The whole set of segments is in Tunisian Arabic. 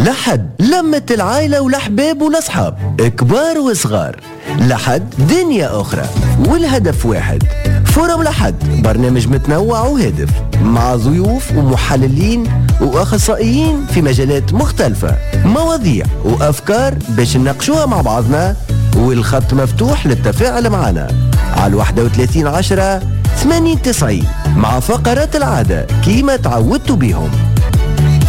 لحد لمة العائلة والأحباب والأصحاب، كبار وصغار، لحد دنيا أخرى والهدف واحد. forum لحد برنامج متنوع وهادف مع ضيوف ومحللين وأخصائيين في مجالات مختلفة، مواضيع وأفكار باش نناقشوها مع بعضنا، والخط مفتوح للتفاعل معنا على 31 10 80 90 مع فقرات العادة كيما تعودتوا بهم.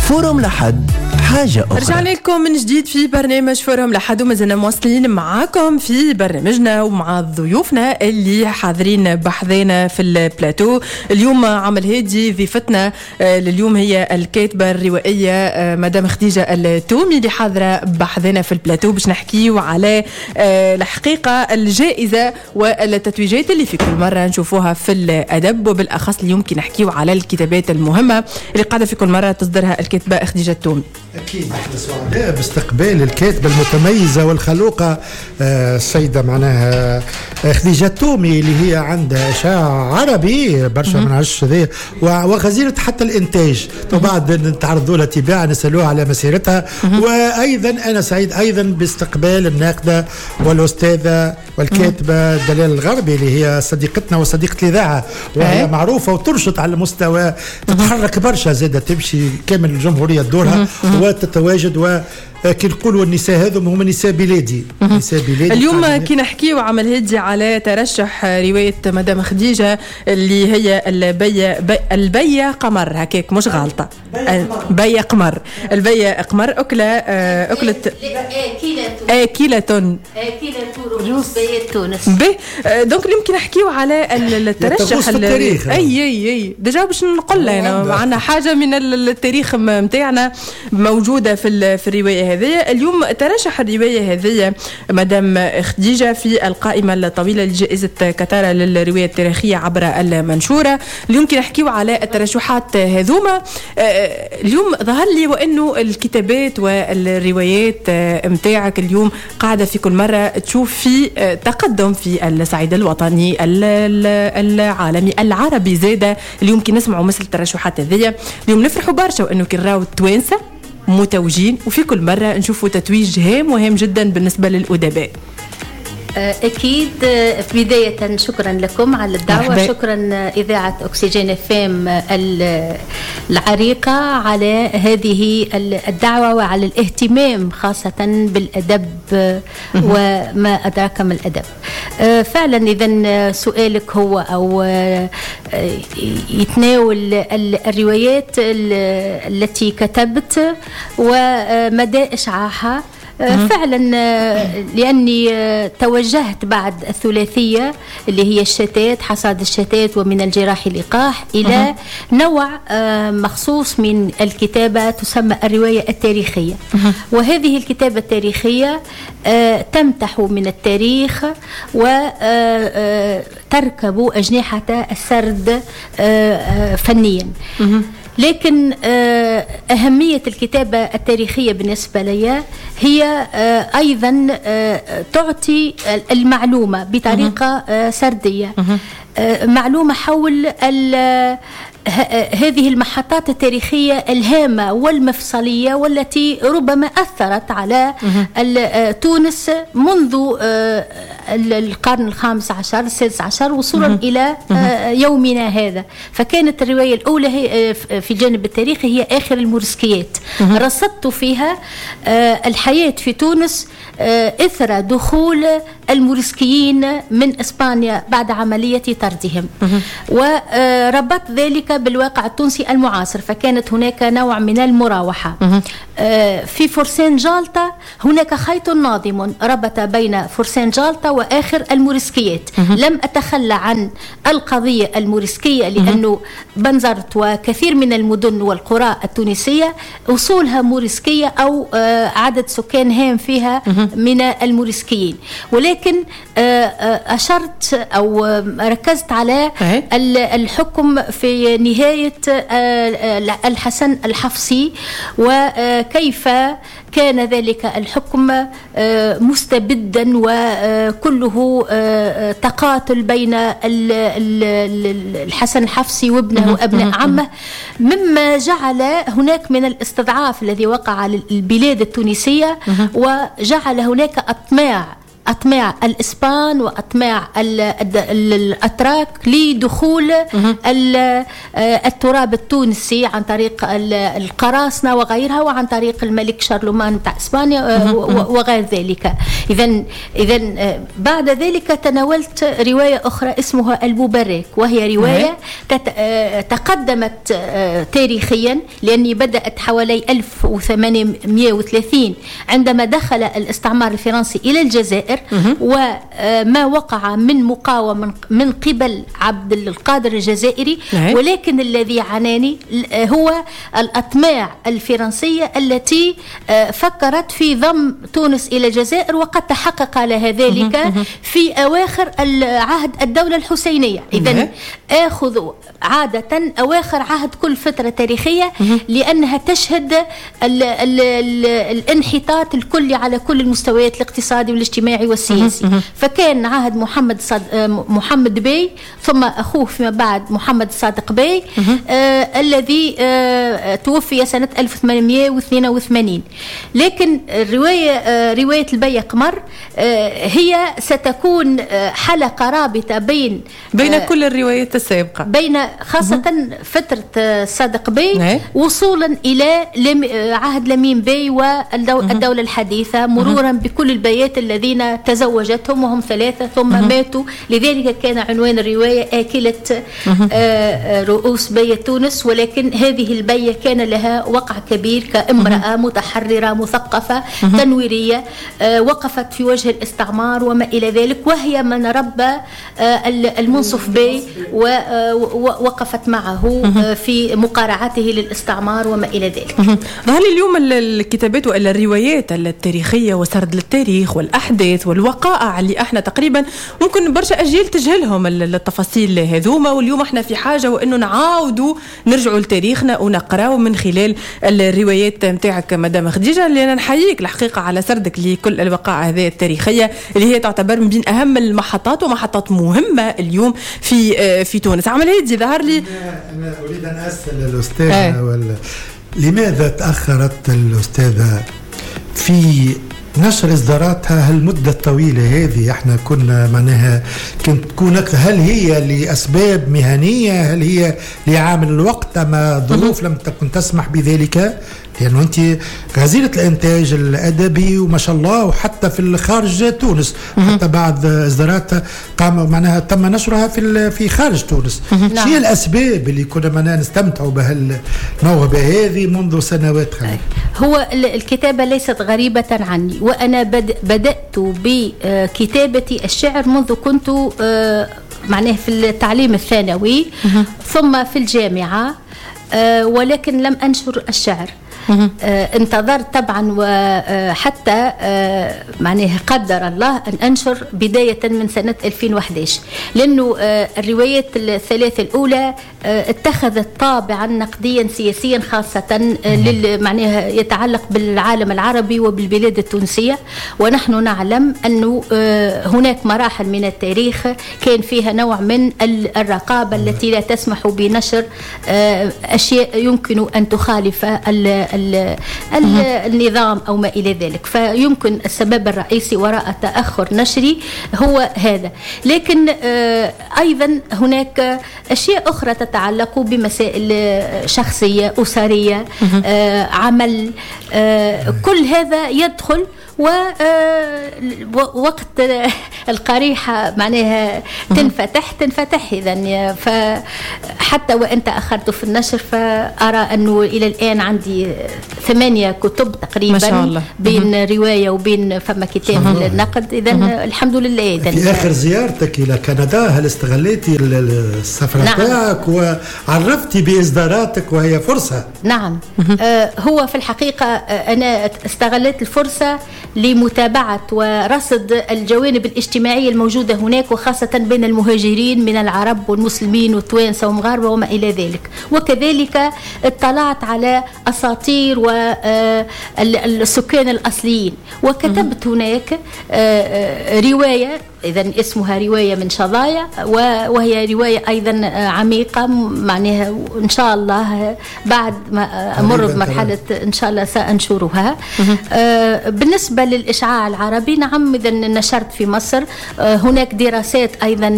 forum لحد حاجة أخرى. رجعنا لكم من جديد في برنامج forum لحد، ومازلنا مواصلين معاكم في برنامجنا ومع ضيوفنا اللي حاضرين بحذانا في البلاتو. اليوم عمل هادي ضيفتنا لليوم هي الكاتبة الروائية مدام خديجة التومي اللي حاضرة بحذانا في البلاتو باش نحكيو على الحقيقة الجائزة والتتويجات اللي في كل مرة نشوفوها في الأدب، وبالأخص اليوم كي نحكيو على الكتابات المهمة اللي قاعدة في كل مرة تصدرها الكاتبة خديجة التومي. أكيد احنا سعداء باستقبال الكاتبة المتميزة والخلوقة السيدة معناها خديجة التومي اللي هي عندها إشعاع عربي برشا ما نعرفش هذايا وغزيرة حتى الإنتاج. وبعد نتعرضوا لها تباعا نسألوها على مسيرتها. وأيضا أنا سعيد أيضا باستقبال الناقدة والأستاذة والكاتبة دلال الغربي اللي هي صديقتنا وصديقة الإذاعة، وهي معروفة وترشط على المستوى، تتحرك برشا زادة، تمشي كامل الجمهورية تدورها وتتواجد. وكي نقولوا النساء هذو هم نساء بلادي، نساء بلادي. اليوم كي نحكيو عمل هادي على ترشح رواية مدام خديجة اللي هي البية قمر، هكاك مش غلطة، بية قمر، البية قمر أكلة أكلة آكلة رؤوس بية تونس. به donc اليوم كي نحكيو على الترشح التاريخ. اي اي اي déjà باش نقول انا عندنا حاجة من التاريخ نتاعنا موجودة في الرواية هذه. اليوم ترشح الرواية هذه مدام خديجة في القائمة الطويلة لجائزة كتارة للرواية التاريخية عبر المنشورة. اليوم كي نحكيو على الترشحات هذوما، اليوم ظهر لي وانه الكتابات والروايات متاعك اليوم قاعدة في كل مرة تشوف في تقدم في الصعيد الوطني العالمي العربي زادة. اليوم كي نسمعوا مثل الترشحات هذيا اليوم نفرحوا برشا وانه كي نراو التوانسة متوجين، وفي كل مرة نشوفوا تتويج هام وهام جدا بالنسبة للأدباء. أكيد. بداية شكرا لكم على الدعوة، شكرا إذاعة أكسجين FM العريقة على هذه الدعوة وعلى الاهتمام خاصة بالأدب وما أدراك ما الأدب. فعلا إذن سؤالك هو أو يتناول الروايات التي كتبت ومدى إشعاعها. فعلا لأني توجهت بعد الثلاثية اللي هي الشتات، حصاد الشتات ومن الجراح لقاح، إلى نوع مخصوص من الكتابة تسمى الرواية التاريخية. وهذه الكتابة التاريخية تمتح من التاريخ وتركب أجنحة السرد فنيا. لكن أهمية الكتابة التاريخية بالنسبة لي هي أيضا تعطي المعلومة بطريقة سردية، معلومة حول هذه المحطات التاريخية الهامة والمفصلية والتي ربما أثرت على تونس منذ القرن الخامس عشر السادس عشر وصولا إلى يومنا هذا. فكانت الرواية الأولى هي في الجانب التاريخي هي آخر المورسكيات، رصدت فيها الحياة في تونس إثر دخول المورسكيين من إسبانيا بعد عملية طردهم، وربط ذلك بالواقع التونسي المعاصر، فكانت هناك نوع من المراوحة. في فرسان جالطة هناك خيط ناظم ربط بين فرسان جالطة وآخر المورسكيات. لم أتخلى عن القضية المورسكية لأنه بنزرت وكثير من المدن والقرى التونسية أصولها مورسكية أو عدد سكان هام فيها من المورسكيين، ولكن أشرت أو ركزت على الحكم في نهاية الحسن الحفصي وكيف كان ذلك الحكم مستبدا وكله تقاتل بين الحسن الحفصي وابنه وابناء عمه، مما جعل هناك من الاستضعاف الاستضعاف الذي وقع للبلاد التونسية وجعل هناك أطماع الإسبان وأطماع الأتراك لدخول التراب التونسي عن طريق القراصنة وغيرها، وعن طريق الملك شارلمان بتاع إسبانيا وغير ذلك. إذا بعد ذلك تناولت رواية أخرى اسمها البوبراك، وهي رواية تقدمت تاريخيا، لأني بدأت حوالي 1830 عندما دخل الاستعمار الفرنسي إلى الجزائر، وما وقع من مقاومة من قبل عبد القادر الجزائري. ولكن الذي عناني هو الأطماع الفرنسية التي فكرت في ضم تونس إلى الجزائر، وقد تحقق لها ذلك في أواخر عهد الدولة الحسينية. إذن آخذ عادة أواخر عهد كل فترة تاريخية، لأنها تشهد الانحطاط الكلي على كل المستويات، الاقتصادي والاجتماعي والسياسي. فكان عهد محمد بي، ثم أخوه فيما بعد محمد صادق بي الذي توفي سنة 1882. لكن الرواية، رواية البي قمر، هي ستكون حلقة رابطة بين كل الروايات السابقة، بين خاصة فترة صادق بي وصولا إلى عهد لمين بي والدولة الحديثة، مرورا بكل البيات الذين تزوجتهم وهم 3 ثم ماتوا. لذلك كان عنوان الرواية آكلة رؤوس بية تونس. ولكن هذه البية كان لها وقع كبير كامرأة متحررة مثقفة تنويرية، وقفت في وجه الاستعمار وما إلى ذلك، وهي من ربى المنصف بي ووقفت معه في مقارعته للاستعمار وما إلى ذلك. ظهر لي اليوم الكتابات وإلا الروايات التاريخية وسرد للتاريخ والأحداث والوقائع اللي احنا تقريبا ممكن برشا أجيال تجهلهم التفاصيل هذوما، واليوم احنا في حاجة وإنه نعاودوا نرجعوا لتاريخنا ونقراو من خلال الروايات نتاعك مدام خديجة، اللي أنا نحييك الحقيقة على سردك لكل الوقائع هذه التاريخية اللي هي تعتبر من بين أهم المحطات ومحطات مهمة اليوم في تونس. عمل هادي ظهر لي. أنا أريد أن أسأل الأستاذة لماذا تأخرت الأستاذة في نشر إصداراتها هالمدة الطويلة هذه؟ احنا كنا معناها كنت تكون أكثر، هل هي لأسباب مهنية، هل هي لعامل الوقت، أما الظروف لم تكن تسمح بذلك؟ لأنه أنت غزيرة الإنتاج الأدبي وما شاء الله، وحتى في الخارج تونس، حتى بعض إصدارات قام معناها تم نشرها في خارج تونس. شو هي الأسباب اللي كنا معناها نستمتع بهالموهبة هذه منذ سنوات؟ خلال هو الكتابة ليست غريبة عني، وأنا بدأت بكتابة الشعر منذ كنت معناه في التعليم الثانوي ثم في الجامعة، ولكن لم أنشر الشعر. انتظرت طبعا وحتى معناه قدر الله أن أنشر بداية من سنة 2011، لأنه الروايات الثلاث الأولى اتخذت طابعا نقديا سياسيا، خاصة معناه يتعلق بالعالم العربي وبالبلاد التونسية، ونحن نعلم أنه هناك مراحل من التاريخ كان فيها نوع من الرقابة التي لا تسمح بنشر أشياء يمكن أن تخالف النظام أو ما إلى ذلك. فيمكن السبب الرئيسي وراء تأخر نشري هو هذا. لكن أيضا هناك أشياء أخرى تتعلق بمسائل شخصية أسرية، عمل، كل هذا يدخل. ووقت القريحة معناها تنفتح إذن، فحتى وإن تأخرت في النشر فأرى أنه إلى الآن عندي 8 كتب تقريبا، ما شاء الله، بين رواية وبين فما كتاب للنقد. إذن الحمد لله. إذن في آخر زيارتك إلى كندا هل استغليتي السفر تاعك وعرفتي بإصداراتك وهي فرصة؟ نعم. هو في الحقيقة أنا استغلت الفرصة لمتابعة ورصد الجوانب الاجتماعية الموجودة هناك، وخاصة بين المهاجرين من العرب والمسلمين والتوانسة ومغاربة وما إلى ذلك. وكذلك اطلعت على أساطير والسكان الأصليين، وكتبت هناك رواية إذا اسمها رواية من شظايا، وهي رواية أيضا عميقة، معناها إن شاء الله بعد ما أمر بمرحلة إن شاء الله سأنشرها. بالنسبة للإشعاع العربي، نعم إذا نشرت في مصر، هناك دراسات أيضا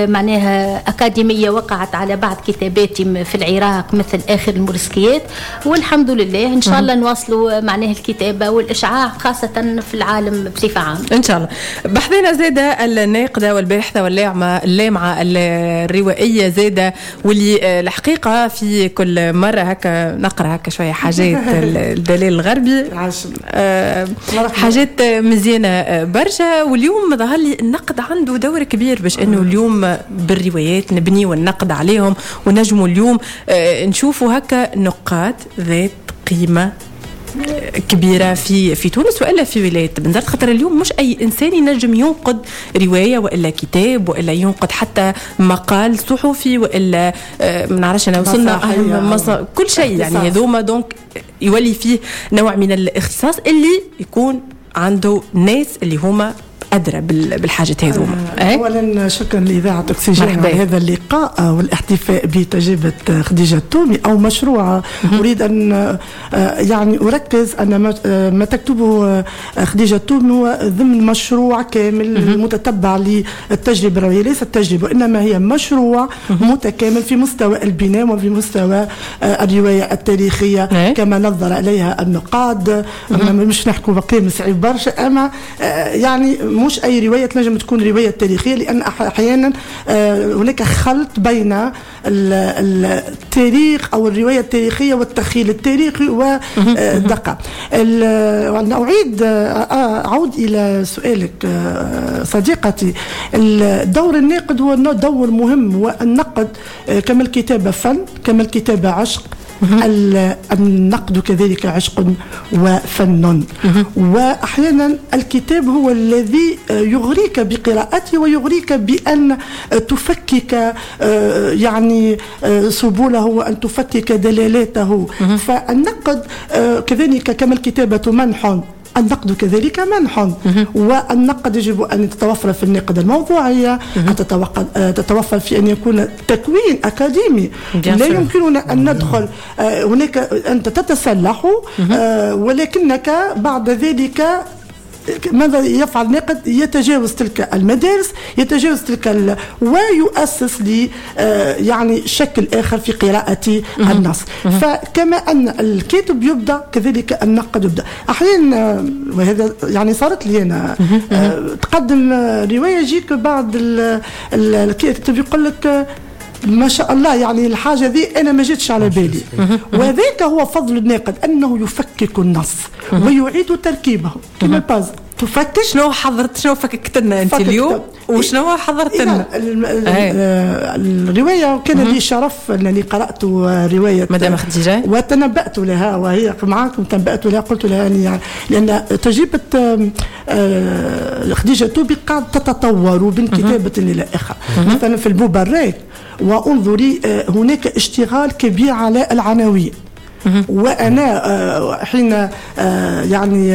معناها أكاديمية وقعت على بعض كتاباتي في العراق مثل آخر المورسكيات، والحمد لله إن شاء الله نواصلوا معناها الكتابة والإشعاع خاصة في العالم بصفة عامة إن شاء الله. بحثنا زادة الناقدة والباحثة واللامعة الروائية زادة، واللي الحقيقة في كل مرة هكا نقرأ هكا شوية حاجات الدليل الغربي، حاجات مزيانة برشا. واليوم ظهر لي النقد عنده دور كبير باش انه اليوم بالروايات نبني والنقد عليهم، ونجموا اليوم نشوفوا هكا نقاد ذات قيمة كبيرة في تونس وإلا في ولاية بنزرت، خاطر اليوم مش أي إنسان ينجم ينقد رواية وإلا كتاب وإلا ينقد حتى مقال صحفي وإلا ما نعرفش أنا وصلنا كل شيء يعني هذوما، donc يولي فيه نوع من الاختصاص اللي يكون عنده ناس اللي هما أدرى بالحاجات هذوما. أولا شكرا لإذاعة أكسجين على هذا اللقاء والاحتفاء بتجربة خديجة التومي أو مشروع. أريد أن يعني أركز أن ما تكتبه خديجة التومي هو ضمن مشروع كامل متتبع للتجربة الروائية، ليست تجربة وإنما هي مشروع متكامل في مستوى البناء وفي مستوى الرواية التاريخية كما نظر إليها النقاد. مش نحكوا بقيم صعيب برشا، أما يعني مش أي رواية تنجم تكون رواية تاريخية، لأن أحيانا هناك خلط بين التاريخ أو الرواية التاريخية والتخيل التاريخي ودقة. أعيد أعود إلى سؤالك صديقتي. الدور الناقد هو دور مهم، والنقد كما الكتابة فن، كما الكتابة عشق، النقد كذلك عشق وفن. وأحيانا الكتاب هو الذي يغريك بقراءته ويغريك بأن تفكك يعني سبوله وأن تفكك دلالاته. فالنقد كذلك كما الكتابة منح، النقد كذلك منح. والنقد يجب أن تتوفر في النقد الموضوعية، أن تتوفر في أن يكون تكوين أكاديمي. لا يمكننا أن ندخل هناك، أنت تتسلح ولكنك بعد ذلك ماذا يفعل الناقد؟ يتجاوز تلك المدارس، يتجاوز تلك ويؤسس ل يعني شكل آخر في قراءة النص. فكما أن الكاتب يبدع كذلك الناقد يبدع أحيانا، وهذا يعني صارت لي أنا تقدم رواية يجيك بعض الكاتب يقول لك ما شاء الله يعني الحاجة ذي أنا ما جيتش على بالي. وذاك هو فضل الناقد، أنه يفكك النص ويعيد تركيبه كما البازل. تفكك شنو حضرت، شنو فككت لنا أنت اليوم وشنو حضرت لنا الرواية؟ كان لي شرف أنني قرأت رواية مدام خديجة وتنبأت لها، وهي معاكم تنبأت لها، قلت لها يعني لأن تجربة خديجة توبي قاعدة تتطور بين كتابة إلى آخر. مثلا في البوبراك وانظري هناك اشتغال كبير على العناوين. وأنا حين يعني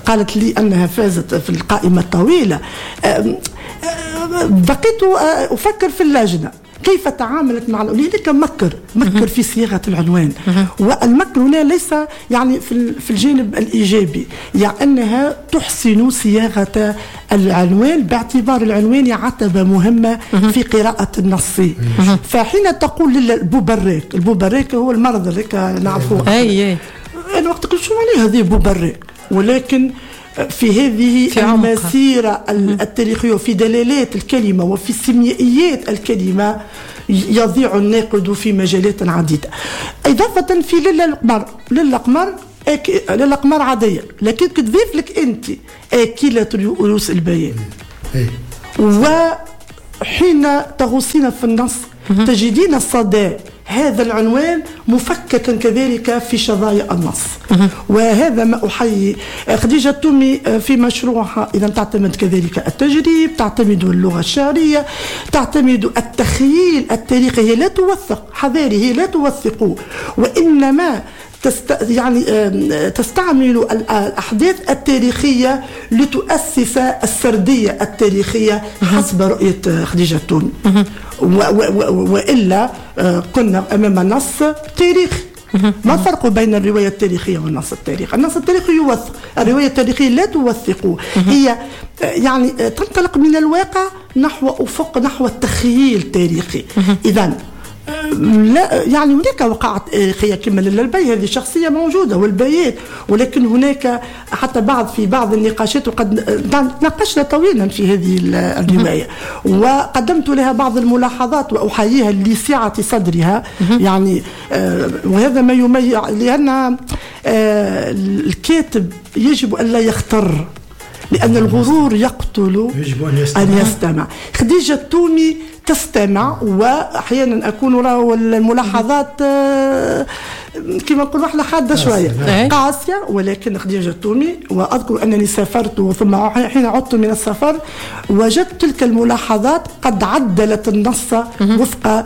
قالت لي أنها فازت في القائمة الطويلة، بقيت أفكر في اللجنة كيف تعاملت مع لذلك مكر في صياغة العنوان. والمكر هنا ليس يعني في الجانب الإيجابي، يعني أنها تحسن صياغة العنوان باعتبار العنوان عتبة مهمة في قراءة النص. فحين تقول للبوبراك، البوبراك هو المرض اللي نعرفوه، أنا وقت قلت شو معناها هذه بوبراك، ولكن في هذه المسيرة التاريخية وفي دلالات الكلمة وفي سيميائيات الكلمة يضيع الناقد في مجالات عديدة. إضافة في للا قمر عادية، لكن تضيف لك أنت آكلة رؤوس البيان. وحين تغوصين في النص تجدين الصدى هذا العنوان مفككا كذلك في شظايا النص. وهذا ما أحيي خديجة التومي في مشروعها. إذا تعتمد كذلك التجريب، تعتمد اللغة الشعرية، تعتمد التخيل التاريخي. هي لا توثق، حذاري، هي لا توثق، وإنما يعني تستعمل الأحداث التاريخية لتؤسس السردية التاريخية حسب رؤية خديجة التومي، وإلا كنا أمام نص تاريخي. ما الفرق بين الرواية التاريخية والنص التاريخي؟ النص التاريخي يوثق، الرواية التاريخية لا توثق، هي يعني تنطلق من الواقع نحو أفق، نحو التخيل التاريخي. إذن لا يعني هناك وقائع تاريخية كما للبي، هذه شخصية موجودة والبيات، ولكن هناك حتى في بعض النقاشات، وقد ناقشنا طويلا في هذه الرواية وقدمت لها بعض الملاحظات وأحييها لسعة صدرها، يعني وهذا ما يميز، لأن الكاتب يجب أن لا يختر، لأن الغرور يقتل، يجب أن يستمع. خديجة التومي تستمع، وأحيانا أكون له الملاحظات كما نقولوا احنا حادة شوية قاسية، ولكن خديجة التومي، وأذكر أنني سافرت ثم حين عدت من السفر وجدت تلك الملاحظات قد عدلت النص وفق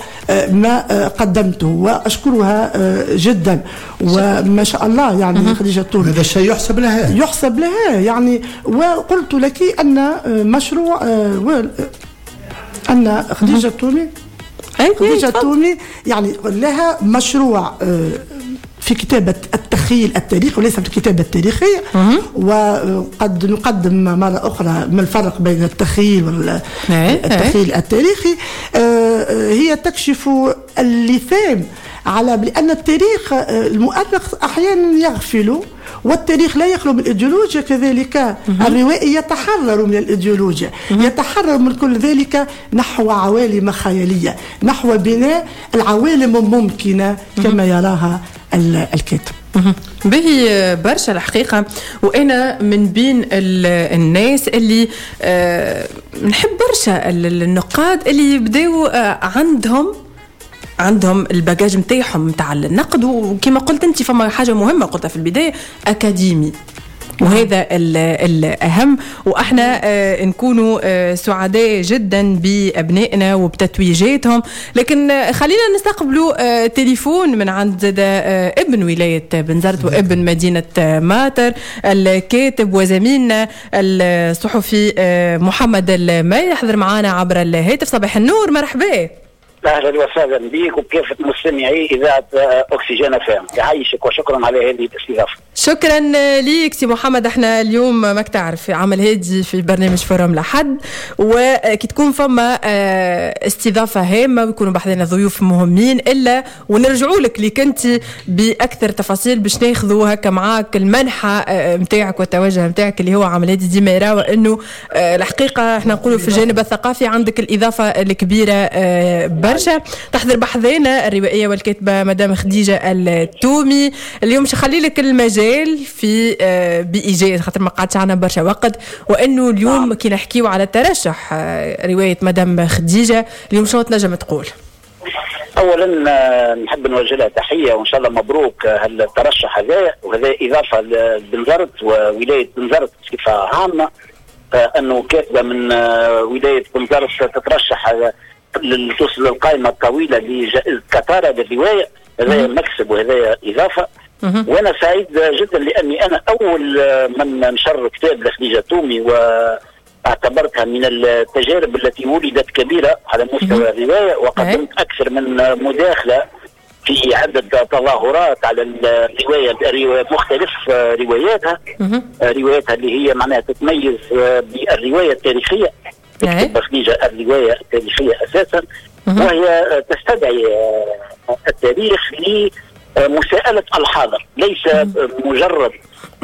ما قدمته، وأشكرها جدا، وما شاء الله يعني خديجة التومي هذا الشيء يحسب لها، يحسب لها يعني. وقلت لك أن مشروع أن خديجة التومي، خديجة التومي يعني لها مشروع في كتابة التخيل التاريخي وليس في الكتابة التاريخية، وقد نقدم مرة أخرى ما الفرق بين التخيل والتخيل التاريخي. هي تكشف اللثام على لأن التاريخ المؤرخ أحيانا يغفل، والتاريخ لا يخلو من الإيديولوجيا، كذلك الروائي يتحرر من الإيديولوجيا، يتحرر من كل ذلك نحو عوالم خيالية، نحو بناء العوالم الممكنة كما يراها الكاتب. به برشا الحقيقة. وأنا من بين الناس اللي نحب برشا النقاد اللي يبداو عندهم الباجاج نتاعهم نتاع النقد، وكما قلت انت فما حاجة مهمة قلتها في البداية، اكاديمي، وهذا الأهم. وإحنا نكونوا سعداء جدا بأبنائنا وبتتويجاتهم. لكن خلينا نستقبلوا تليفون من عند ابن ولاية بنزرت وابن مدينة ماطر، الكاتب وزميلنا الصحفي محمد المي، يحضر معنا عبر الهاتف. صباح النور، مرحبا. اهلا وسهلا بك وبكافه مستمعي اذاعة اكسجين FM، يعيشك وشكرا على هذه الاستضافة. شكرا ليك سي محمد. احنا اليوم ماك تعرف عمل هادي في برنامج forum لحد، وكي تكون فما استضافة هامة ويكونوا بحذنا ضيوف مهمين الا ونرجعوا لك ليك انت باكثر تفاصيل باش ناخذوا هكا معاك المنحة نتاعك والتوجه نتاعك اللي هو عمل هادي ديما يراو انه الحقيقة احنا نقولوا في الجانب الثقافي عندك الاضافة الكبيرة برشا. تحضر بحذانا الروائية والكاتبة مدام خديجة التومي. اليوم خلي لك المجال في بإيجاز خاطر ما قعدش عنا برشا وقت، وأنه اليوم كي نحكيو على ترشح رواية مدام خديجة اليوم شنو تنجم تقول؟ أولا نحب نوجه لها تحية وإن شاء الله مبروك هالترشح هذا، وهذا إضافة لبنزرت وولاية بنزرت بصفة عامة، أنه كاتبة من ولاية بنزرت تترشح توصل للقائمة الطويلة لجائزة كتارة للرواية، هذا مكسب وهذا إضافة. وأنا سعيد جدا لأني أنا أول من نشر كتاب لخديجة تومي، واعتبرتها من التجارب التي ولدت كبيرة على مستوى الرواية، وقدمت أكثر من مداخلة في عدة تظاهرات على الرواية، مختلف رواياتها، رواياتها اللي هي معناها تتميز بالرواية التاريخية، تكتب خديجة الرواية التاريخية أساسا، وهي تستدعي التاريخ لمساءلة الحاضر، ليس مجرد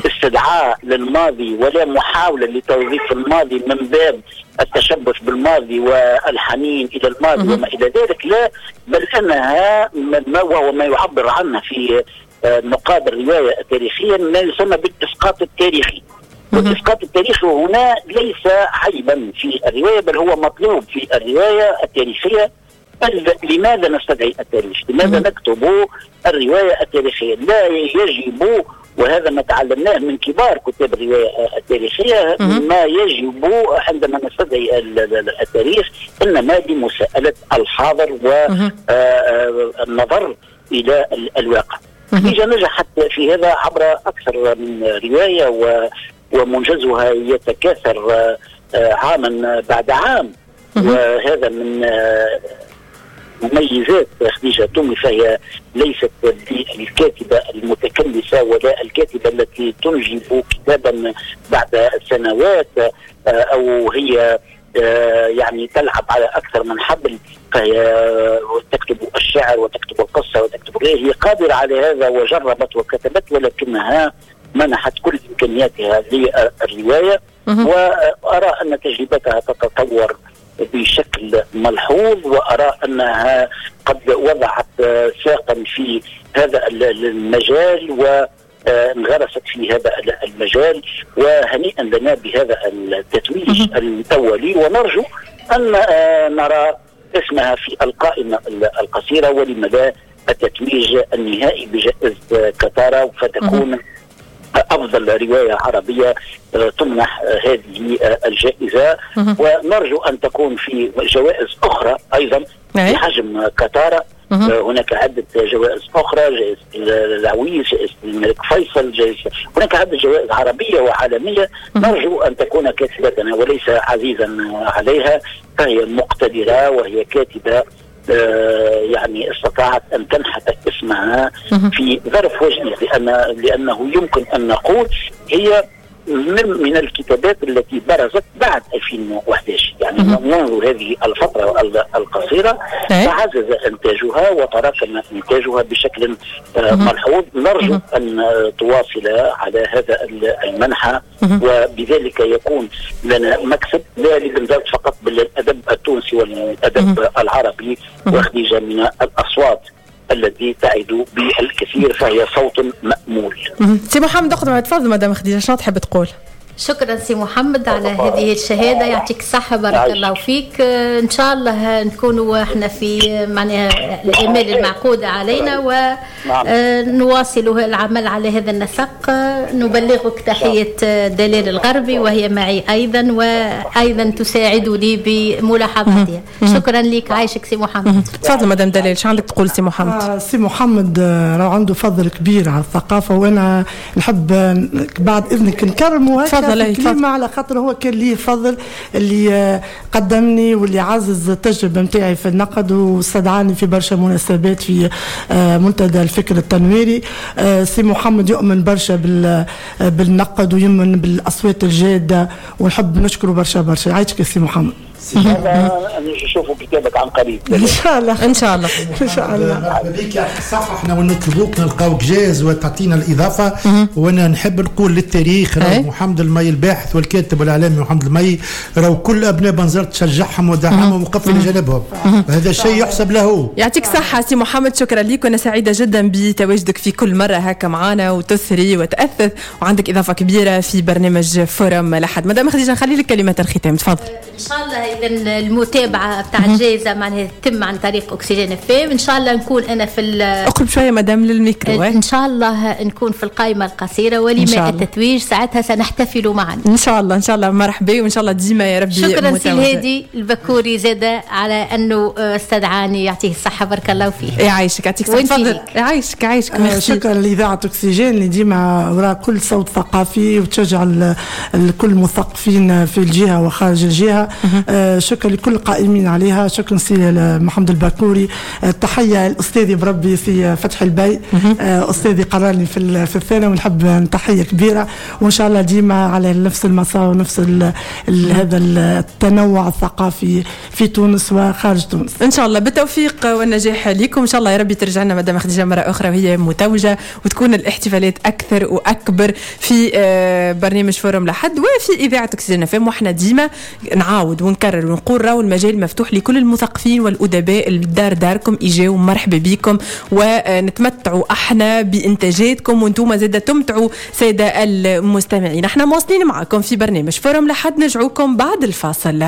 استدعاء للماضي ولا محاولة لتوظيف الماضي من باب التشبث بالماضي والحنين إلى الماضي وما إلى ذلك، لا، بل أنها وهو ما يعبر عنه في نقاد الرواية التاريخية ما يسمى بالإسقاط التاريخي. والإسقاط التاريخي هنا ليس عيبا في الرواية، بل هو مطلوب في الرواية التاريخية. لماذا نستدعي التاريخ؟ لماذا نكتب الرواية التاريخية؟ لا يجب، وهذا ما تعلمناه من كبار كتاب الرواية التاريخية، ما يجب عندما نستدعي التاريخ إنما لمساءلة الحاضر والنظر إلى الواقع. خديجة نجحت في هذا عبر أكثر من رواية، ومنجزها يتكاثر عاما بعد عام، وهذا من مميزات خديجة تومي، فهي ليست الكاتبة المتكلسة ولا الكاتبة التي تنجب كتابا بعد سنوات، أو هي يعني تلعب على أكثر من حبل، فهي تكتب الشعر وتكتب القصة وتكتب غيره، هي قادرة على هذا وجربت وكتبت، ولكنها منحت كل إمكانياتها للرواية. وأرى أن تجربتها تتطور بشكل ملحوظ، وأرى أنها قد وضعت ساقا في هذا المجال وانغرست في هذا المجال، وهنيئا لنا بهذا التتويج الأولي، ونرجو أن نرى اسمها في القائمة القصيرة، ولم لا التتويج النهائي بجائزة كتارا، فتكون أفضل رواية عربية تمنح هذه الجائزة. ونرجو أن تكون في جوائز أخرى أيضا بحجم كتارا. هناك عدة جوائز أخرى، جائزة العويس، جائزة الملك فيصل، جائزة، هناك عدة جوائز عربية وعالمية. نرجو أن تكون كاتبتنا وليس عزيزا عليها، فهي مقتدرة وهي كاتبة يعني استطاعت أن تنحت اسمها في ظرف وجيه، لأنه يمكن أن نقول هي من الكتابات التي برزت بعد 2011، يعني منذ هذه الفترة القصيرة تعزز إنتاجها وتراكم إنتاجها بشكل ملحوظ. نرجو أن تواصل على هذا المنحى، وبذلك يكون لنا مكسب لا لبنزرت فقط بل للأدب التونسي والأدب العربي. وخديجة من الأصوات التي تعد بالكثير، فهي صوت مأمول. سي محمد أقدم، تفضل مدام خديجة، شنو تحب تقول؟ شكرا سي محمد على هذه الشهادة، يعطيك الصحة، بارك الله فيك. إن شاء الله نكونوا احنا في معناها الآمال المعقودة علينا، ونواصل العمل على هذا النسق. نبلغك تحية دلال الغربي وهي معي أيضا، وأيضا تساعدني بملاحظتها. شكرا لك، عايشك سي محمد. تفضل مدام دلال، شو عندك تقول سي محمد؟ سي محمد راه عنده فضل كبير على الثقافة، وأنا نحب بعد إذنك نكرمه كلمة على خاطر هو كان ليه فضل اللي قدمني واللي عزز التجربة متاعي في النقد، واستدعاني في برشا مناسبات في منتدى الفكر التنويري. سي محمد يؤمن برشا بالنقد ويؤمن بالأصوات الجادة، ونحب نشكره برشا برشا. عايشك سي محمد. نشوفوا كتابك عن قريب ان شاء الله. ان شاء الله ان شاء الله. مرحبا بك، يعطيك الصحة. احنا ونطلبوك نلقاوك جاهز وتعطينا الإضافة. وانا نحب نقول للتاريخ راهو محمد المي الباحث والكاتب والإعلامي محمد المي، راهو كل أبناء بنزرت تشجعهم ودعمهم وقف لجانبهم، هذا الشيء يحسب له. يعطيك الصحة سي محمد، شكرا لك، وانا سعيدة جدا بتواجدك في كل مرة هكا معانا وتثري وتأثث، وعندك إضافة كبيرة في برنامج forum لحد. مدام خديجة نخلي لك كلمة الختام، تفضل. إن شاء الله إذا المتابعة بتاع الجائزة معناها تتم عن طريق أكسجين FM. إن شاء الله نكون أنا في أقرب شوية مدام للميكرو. إن شاء الله نكون في القائمة القصيرة، ولما التتويج ساعتها سنحتفل معا إن شاء الله. إن شاء الله، مرحبا، وإن شاء الله ديما يا ربي. شكرا سي الهادي البكوري زادة على أنه استدعاني، يعطيه الصحة، بارك الله فيه. يعيشك، يعطيك الصحة، تفضل. يعيشك يعيشك. شكرا لإذاعة أكسجين اللي ديما وراء كل صوت ثقافي وتشجع كل المثقفين في الجهة وخارج الجهة. شكرا لكل القائمين عليها، شكرا سي محمد الباكوري، تحية الأستاذي بربي سي فتحي البي، أستاذي قررني في الثانوي، ونحب تحية كبيرة، وإن شاء الله ديما على نفس المسار ونفس هذا التنوع الثقافي في تونس وخارج تونس إن شاء الله. بالتوفيق والنجاح لكم إن شاء الله يا ربي. ترجع لنا مدام خديجة مرة أخرى وهي متوجة، وتكون الاحتفالات أكثر وأكبر في برنامج forum لحد وفي إذاعة أكسجين FM. وإحنا ديما نعاود ونكرر ونقول راهو المجال مفتوح لكل المثقفين والأدباء، الدار داركم، إجاو مرحبا بكم، ونتمتعوا احنا بإنتاجاتكم، وانتم زادة تمتعوا سادة المستمعين. احنا مواصلين معكم في برنامج forum لحد، نرجعوكم بعد الفاصل.